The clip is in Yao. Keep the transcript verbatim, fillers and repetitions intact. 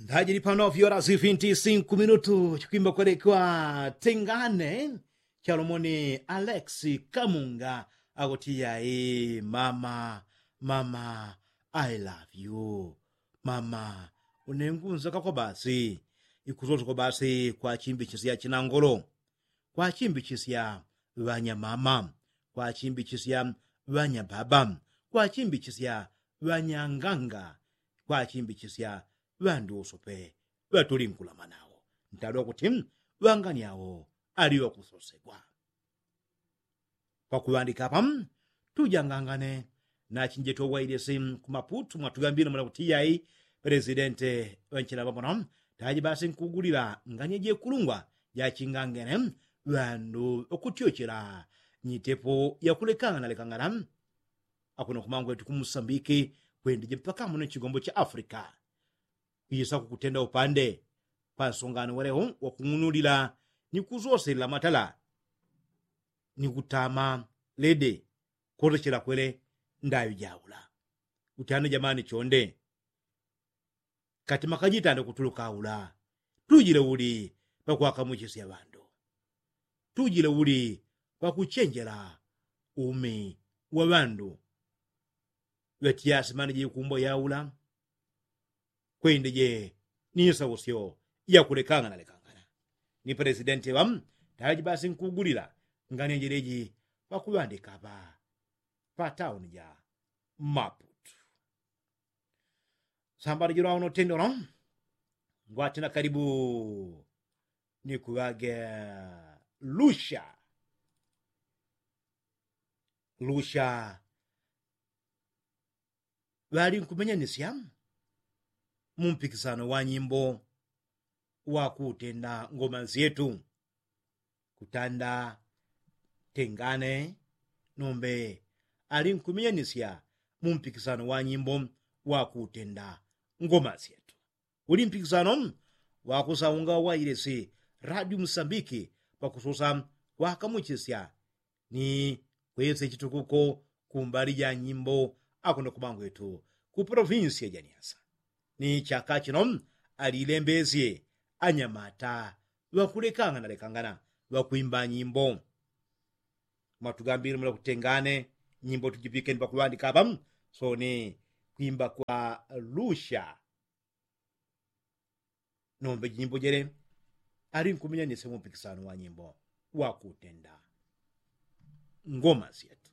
Ndajili pano vyora zifinti sinku minutu chikwimba kwelekwa tengane. Chalomoni alex kamunga akuti yai mama, mama, I love you. Mama, unengunza kakwa basi. Ikusoso kwa basi kwa chimbi chisya chinangolo, kwa chimbichisya ŵanyamama, kwa chimbichisya ŵanyababa, kwa chimbichisya ŵanyanganga, kwa chimbichisya ŵandusu pe ŵatuli nkulama nawo. Ntalwa kuti ŵangani awo ali ŵakusosegwa. Pakuŵandika apa, tujangangane nachinjeto wailesi kumaputu mwatugambile mwana kuti yai, presidente ŵanchila ŵamono taji basi nkugulila ngani jekulungwa jachingangene ŵandu ŵakutyochela nyitepo yakulekangana lekangana. Akuno kumangwetu kumusambiki kwendije mpaka muno chigombo cha afrika kuyisa kukutenda upande pansongano waleho wakung'unulila ni kusoselela matala ni kutama lede. Kotochela kwele ndayo jaula. Utane jamani chonde kati makajitande kutuluka aula. Tujile uli pakwakamuchisya ŵandu? Tujile uli pakuchenjela umi wa ŵandu? Ŵatiasi mani jikumbwa yaula kwendije ni sausyo yakulekangana lekangana. Ni presidenti ŵa taji basi nkugulila ngani jeleji pakuŵandika apa pa tauni ja maputu. Sambala jilwa uno tendolo ngwatina kalibu ni kuŵage lusha. Lusha ŵali nkumenyanisya mu mpikisano wa nyimbo wa kutenda ngoma syetu. Kutanda tengane nombe ali nkumenyanisya mu mpikisano wa nyimbo wa kutenda ngoma syetu. Uli mpikisano wakusaunga wailesi radio musambiki pakusosa kwakamuchisya ni kwese chitukuko kumbali ja nyimbo akuno kumangwetu ku provinsi ya janiasa. Ni chaka chino alilembesye anyamata ŵakulekangana lekangana ŵakwimba nyimbo. Mwatugambile mula kutengane nyimbo tujipikeni pakuŵandika apa. So ni kwimba kwa lusha nombe jinyimbo jele ali nkumenyanisya mu mpikisano wa nyimbo wa kutenda ngoma syetu.